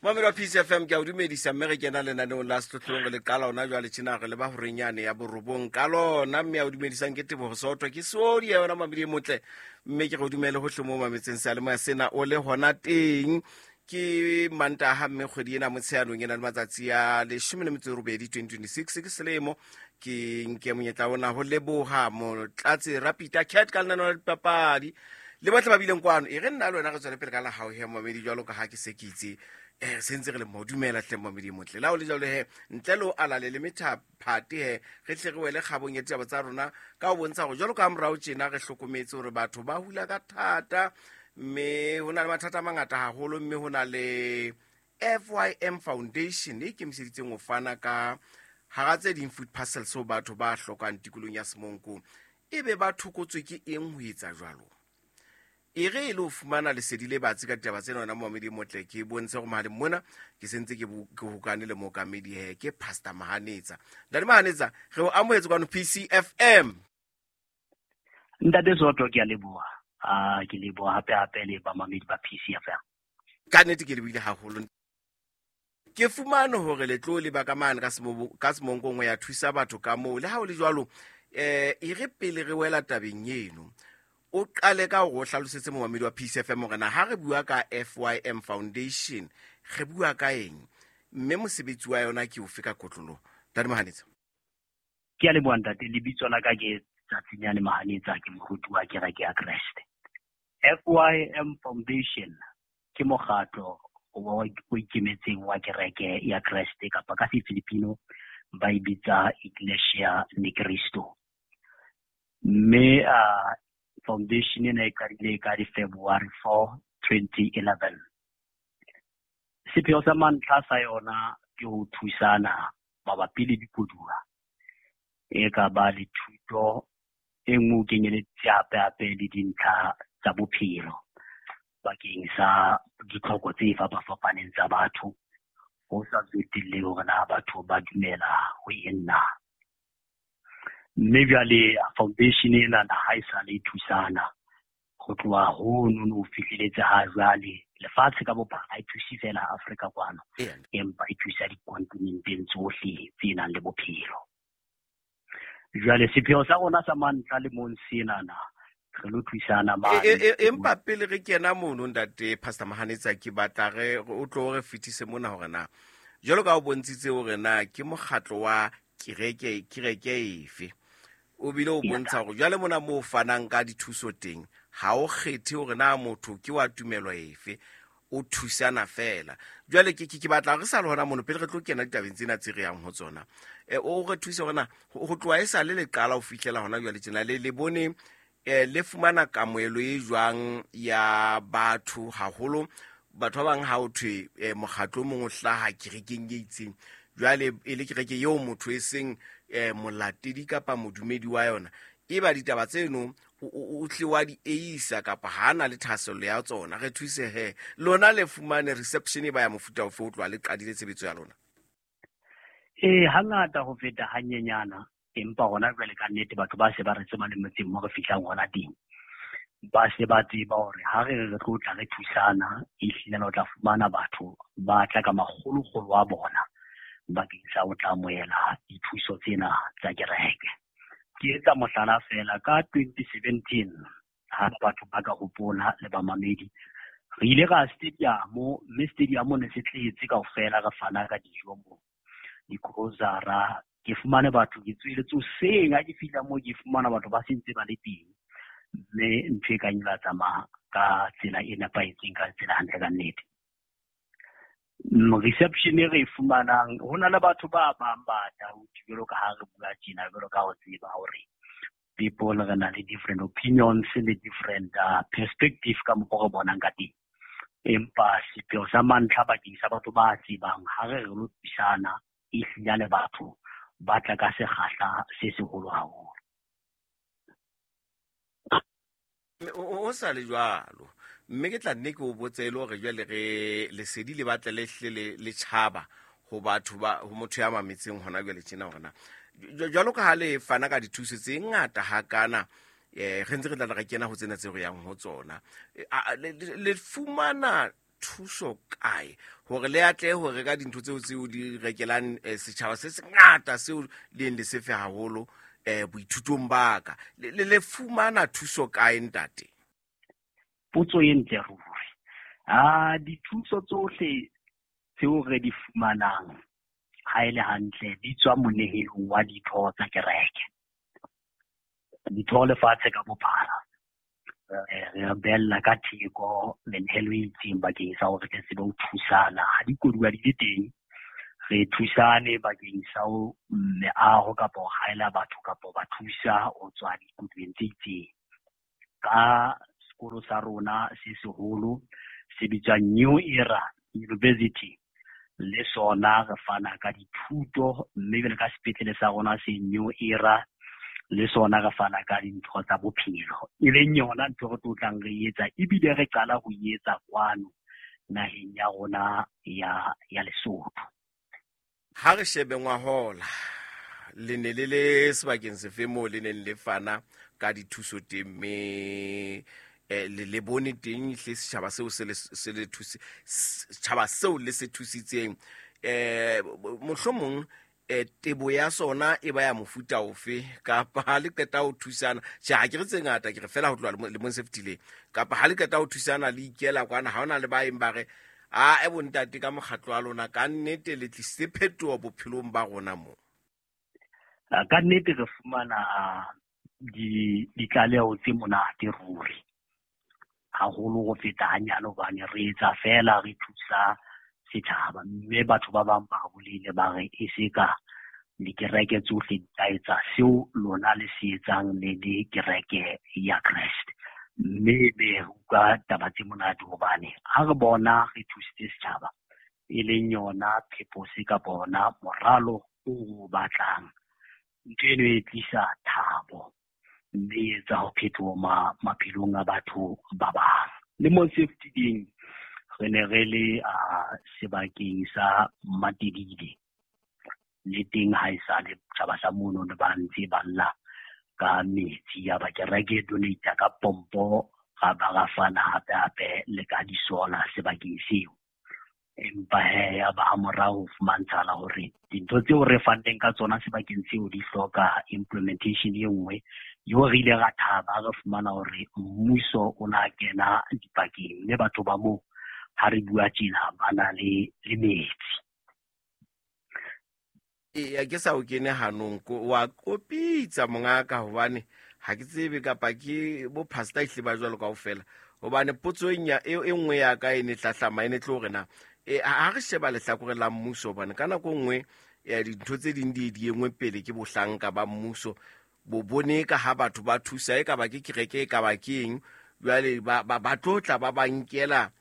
Momamedi wa PCFM, ke a o dumedisa, mme re kena lenaneong la Sehlohlolong. Re le qala ona jwale tjena, re leba horeng yane ya borobong ka lona, mme a o dumedisang ke Tebogo Soto, ke seodi ya yona mamedi e motle, mme ke re o dumele hohle mo mametseng seyalemoya sena o le hona teng. Ke Mantaha, mme kgwedi ena Motsheanong e na le matsatsi a 18, 2026 ke selemo. Ke nke monyetla ona ho leboha Motlatse Rapita Cat ka lenaneo la dipapadi le botlhe ba bileng kwano. E re nna le wena re tswele pele ka la hao he, momamedi, jwalo ka ha ke se ke itse se ntse re le mo. Dumela hle, momamedi motle. La o le jalo he, ntle le o alale le methaphate he, re tle re wele kgabong ya ditaba tsa rona ka ho bontsha gore jwalo ka morao tjena re hlokometse hore batho ba hula ka thata, mme ho na le mathata a mangata haholo, mme ho na le FYM Foundation e ikemiseditseng ho fana ka, hara tse ding, food parcels ho batho ba hlokang tikolong ya Semonko. Ebe ba thokotswe ke eng ho etsa jwalo? E re e le ho fumana lesedi le batsi ka ditaba tsena, wena momamedi motle, ke bontshe gore mohaleng mona ke sentse ke hokane le mookamedi he, ke Pastor Mahanetsa. Ntate Mahanetsa, re o amohetse kwano PCFM. Ntate Soto, ke a leboha. Ke leboha hape hape le bamamedi ba PCFM. Ka nnete ke lebohile haholo. Ke fumane hore le tlo leba ka mane ka Semonkong ho ya thusa batho ka moo. Le ha o le jwalo, e re pele re wela tabeng eno, o qale ka hore o hlalosetse momamedi wa PCFM hore na ha re bua ka FYM Foundation re bua ka eng, mme mosebetsi wa yona ke ofe ka kotloloho. Ntate Mahanetsa. Ke a leboha, ntate. Lebitso la ka ke Tsatsinyane Mahanetsa, ke moruti wa kereke ya Kreste. FYM Foundation ke mokgatlo o ikemetseng wa kereke ya Kreste, kapa ka Sefilipino ba e bitsa Iglesia Ni Cristo. Mme foundation ena e qadile ka di February 4, 2011. Sepheo sa mantlha sa yona ke ho thusana mabapi le dikoduwa, e ka ba le thuto e nngwe, o kenyeleditse hape hape le dintlha tsa bophelo bakeng sa ditlhoko tse fapafapaneng tsa batho, ho sa tsotelle hore na batho ba dumela ho eng na. Mme jwale foundation ena na ha e sa le thusana ho tloha hono no ho fihleletse ha jwale lefatshe ka bophara. Ha e thuse fela Afrika kwano, empa e thusa dikontinenteng tsohle tse nang le bophelo. Jwale sepheo sa rona sa mantlha le mong senana re lo thusana mane. Empa pele re kena mono, ntate Pastor Mahanetsa, ke batla re o tlo re fetise mona hore na jwalo ka o bontshitse hore na ke mokgatlo wa kereke efe, o bile o bontsha hore jwale mona moo fanang ka dithuso teng ha o kgethe hore na motho ke wa tumelo efe, o thusana fela. Jwale ke batla re sa le hona mono, pele re tlo kena ditabeng tsena tse re yang ho tsona, o re thuse hore na ho tloha e sa le le qala ho fihlela hona jwale tjena le bone le fumana kamohelo e jwang ya batho, haholo batho ba bang ha o thwe mokgatlo o mong o hlaha kerekeng e itseng, jwale e le kereke eo motho e seng molatedi kapa modumedi wa yona, e ba ditaba tseno o tle wa di eisa kapa ha na le thahasello ya tsona. Re thuse he, lona le fumane reception e ba ya mofuta ofe o tloha le qadile tshebetso ya lona? Ee, hangata ho feta hanyenyana, empa hona jwale ka nnete batho ba se ba re tseba le motseng mo re fihlang hona teng. Ba se ba tseba hore ha re re tlo tla re thusana, ehlile o tla fumana batho ba tla ka makgolokgolo a bona bakeng sa ho tla amohela dithuso tsena tsa kereke. Ke etsa mohlala fela, ka 2017, ha batho ba ka hopola le bamamedi, re ile ra stadium, mme stadium ne se tletse kaofela, re fana ka dijo mo, digrosara. Ke fumane batho, ke tsweletse hoseng, ha ke fihla moo ke fumana batho ba sentse ba le teng, mme ntho e kang la tsamaya ka tsela e nepahetseng, ka tsela hantle ka nnete. Reception e re e fumanang, ho na le batho ba bang ba doubt, jwalo ka ha re bua tjena, jwalo ka ho tseba hore people re na le different opinions le different perspective ka mokgwa re bonang ka teng. Empa sepheo sa mantlha bakeng sa batho ba tsebang ha re re lo thusana, ehlile le batho ba tla ka sekgahla se seholo haholo. O sa le jwalo, mme ke tla nne ke o botse e le hore jwale re lesedi le batle le hle le tjhaba ho batho ba, ho motho ya mametseng hona jwale tjena, hore na jwalo ka ha le fana ka dithuso tse ngata hakana, re ntse re tla re kena ho tsena tse re yang ho tsona, le fumana thuso kae hore le atlehe ho reka dintho tseo tseo di rekelang setjhaba se sengata seo le eng le sefe haholo boithutong ba ka. Le fumana thuso kae, ntate? Potso e ntle ruri. Dithuso tsohle tseo re di fumanang ha e le hantle di tswa monehelong wa ditho tsa kereke. Ditho lefatshe ka bophara. Re bella ka theko menehelo e itseng bakeng sa hore re tsebe ho thusana. Ha dikoduwa di le teng, re thusane bakeng sa ho meaho kapa ho haela batho kapa ba thusa ho tswa dikoduweng tse itseng. Ka sekolo sa rona se seholo se bitswang New Era University, le sona re fana ka dithuto, mme jwale ka sepetlele sa rona se New Era le sona re fana ka dintho tsa bophelo, e leng yona ntho re tlo tlang re etsa, ebile re qala ho etsa kwano naheng ya rona ya Lesotho. Ha re shebe ngwahola, le ne le le sebakeng sefe moo le neng le fana ka dithuso teng, mme le bone teng hle setjhaba seo se le thuse, setjhaba seo le se thusitseng, mohlomong tebo ya sona e ba ya mofuta ofe, kapa ha le qeta ho thusana? Tjhe, ha ke re tse ngata, ke re fela ho tloha lemong se fetileng, kapa ha le qeta ho thusana le ikela kwana, ha hona le ba eng ba re a e bontate ka mokgatlo wa lona ka nnete le tlisitse phetoho bophelong ba rona mo? Ka nnete re fumana ditlaleho tse monate ruri, haholo ho feta hanyane, hobane re etsa fela re thusa setjhaba, mme batho ba bang ba bolele ba re e se ka dikereke tsohle di ka etsa seo lona le se etsang le dikereke ya Kreste. Mme be re utlwa taba tse monate, hobane ha re bona re thusitse setjhaba, e leng yona purpose kapa ona moralo o batlang, ntho eno e tlisa thabo mme e etsa ho phetoho maphelong a batho ba bang. Le mo se fetileng re ne re le sebakeng sa Matebele, le teng ha e sale tjhaba sa mono ne ba ntse ba lla ka metsi, ya ba kereke donate ka pompo, ra ba ra fana hape hape le ka disola sebakeng seo. Empa he ya ba ha morao ho fumantshala hore dintho tseo re fanneng ka tsona sebakeng seo di hloka implementation e nngwe, eo re ile ra thaba re fumana hore mmuso o na kena dipakeng, mme batho ba moo ha re bua tjena ba na le metsi. Eya, ke sa o kene hanong, wa kopitsa mongaka, hobane ha ke tsebe kapa ke bo pastor ehle ba jwalo kaofela, hobane potso e nngwe ya ka e ne hlahlama e ne tlo hore na ha re sheba lehlakore la mmuso, hobane ka nako nngwe dintho tse ding di engwe pele ke bohlanka ba mmuso, bo bone ka ha batho ba thusa, e ka ba ke kereke, e ka ba ke eng, jwale ba tlotla ba ba nkela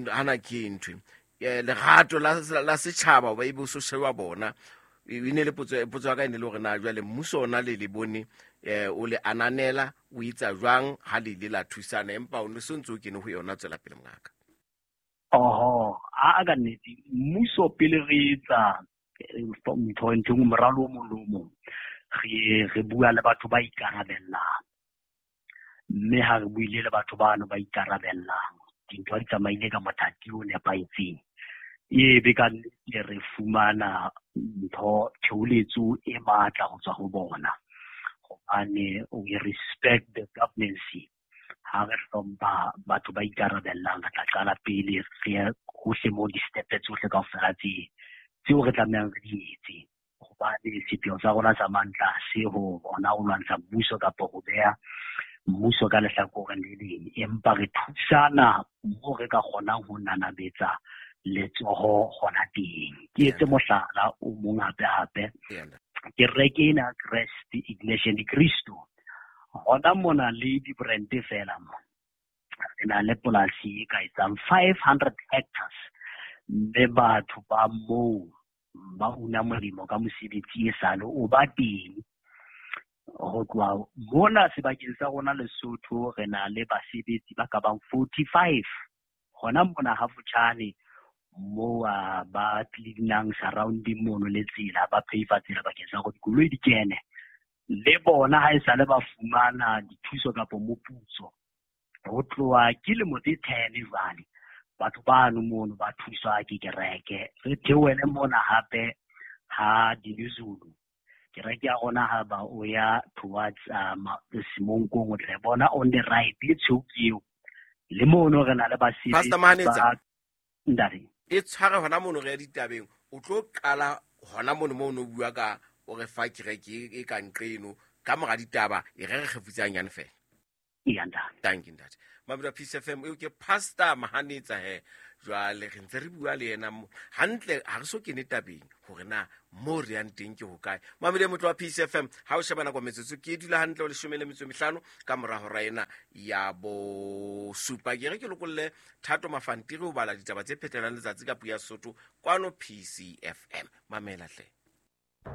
hana ke ntho lerato la setjhaba ba e bo so sheba bona. E ne le potso ya ka e ne le hore na jwale mmuso ona le bone o le ananela o etsa jwang ha le ile la thusana, empa o ne so ntse o kene ho yona. Tswela pele mongaka. Oho, a ka nnete mmuso pele re etsa ntho ntho moralo o mong le o mong, re bua le batho ba ikarabellang, mme ha re buile le batho bano ba ikarabellang, dintho di tsamaile ka mothati o nepahetseng, e be ka nnete re fumana ntho theoletso e matla ho tswa ho bona, hobane we respect the governance. Ha re hlompha batho ba ikarabellang, re tla qala pele re hohle mo di-step tsohle kaofela tseo re tlamehang re di etse, hobane sepheo sa rona sa mantla se ho bona ho lwantsha mmuso kapa ho beha mmuso ka lehlakoreng le leng, empa re thusana moo re ka kgonang ho nanabetsa letsoho hona teng. Ke etse mohlala o mong hape hape, kereke ena Kreste Iglesia ni Cristo, hona mona le di-brand fela mo, re na le polasi e ka etsang 500 hectares, mme batho ba moo ba una molemo ka mosebetsi e sale o ba teng. Ho tloha mona sebakeng sa rona Lesotho re na le basebetsi ba ka bang 45 hona mona ha Futjhane moo ba cleanang surrounding mono le tsela, ba pave tsela bakeng sa hore dikoloi di kene. Le bona ha e sale ba fumana dithuso kapa moputso, Ho tloha ke lemo tse 10 jwale batho bano mono ba thuswa ke kereke. Re theohele mona hape ha Dinizulu. Kereke ya rona ha ba o ya towards Semonkong, o tla e bona on the right e tshweu ke eo. Le mono re na le basebetsi Pastor Mahanetsa. ba ntate. E tshware hona mono re ya ditabeng, o tlo qala hona mono moo o no bua ka o re fa kereke e ka nqeno ka mora ditaba, e re re kgefutse hanyane fela. Eya ntate. Thank you ntate. Mamedi wa Peace FM, eo ke Pastor Mahanetsa he. Jwale re ntse re bua le yena mo hantle, ha re so kene tabeng hore na mo re yang teng ke hokae. Mamedi motlo wa Peace FM, ha o sheba nako metsotso ke dula hantle o 15 ka mora hora ena ya bosupa. Ke re ke lokolle Thato Mafantiri ho bala ditaba tse phetelang letsatsi ka puo ya Sesotho kwano PCFM. Mamela hle.